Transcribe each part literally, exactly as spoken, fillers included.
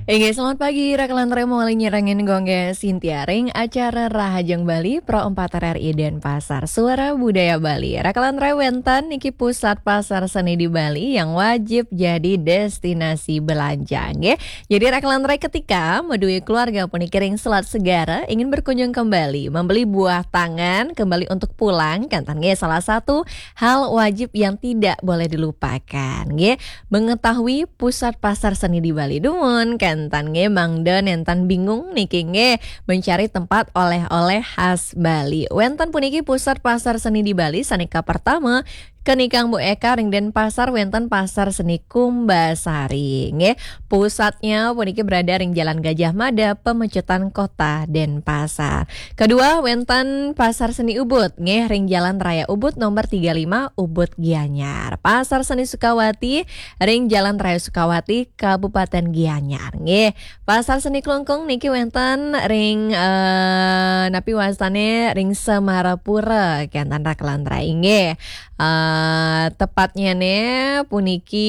Inggih, selamat pagi, Rakalan Remo, malih nyarengin Gung Sintia ring acara Rahajeng Bali, Pro empat R R I Denpasar, Suara Budaya Bali. Rakalan Remo, wénten niki pusat pasar seni di Bali yang wajib jadi destinasi belanja, nggih. Jadi, Rakalan Remo, ketika madué keluarga puniki ring Selat Segara ingin berkunjung kembali, membeli buah tangan kembali untuk pulang, kénten nggih, salah satu hal wajib yang tidak boleh dilupakan, nggih. Mengetahui pusat pasar seni di Bali. Dumun, kénten nggih, mangda nénten bingung niki nggih, mencari tempat oleh-oleh khas Bali. Wénten puniki pusat pasar seni di Bali, sané kapertama, kenikang Bu Eka ring Denpasar, wénten Pasar Seni Kumbasari, nggih. Pusatnya puniki berada ring Jalan Gajah Mada, Pemecutan, Kota Denpasar. Kedua, wénten Pasar Seni Ubud, nggih, ring Jalan Raya Ubud nomor tiga lima, Ubud, Gianyar. Pasar Seni Sukawati, ring Jalan Raya Sukawati, Kabupaten Gianyar, nggih. Pasar Seni Klungkung niki wénten ring, eh, napi wastané, ring Semarapura, kénten Rakalan Remo, nggih. Eh, tepatnya nih puniki,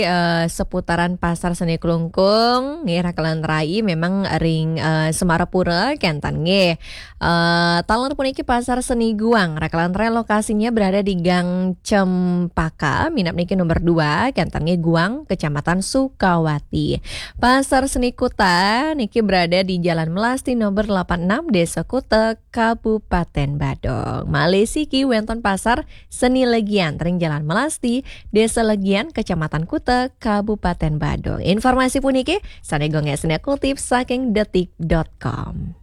eh, seputaran Pasar Seni Klungkung, nggih, Rakalan Remo, memang ring, eh, Semarapura, kénten nggih. Eh, taler puniki Pasar Seni Guang, Rakalan Remo, lokasinya berada di Gang Cempaka, minab niki nomor dua, kénten nggih, Guang, Kecamatan Sukawati. Pasar Seni Kuta niki berada di Jalan Melasti nomor delapan enam, Desa Kuta, Kabupaten Badung. Malih siki wénten Pasar Seni Legian ring Jalan Melasti, Desa Legian, Kecamatan Kuta, Kabupaten Badung. Informasi puniki sané Gung Sintia kutip saking detik dot com.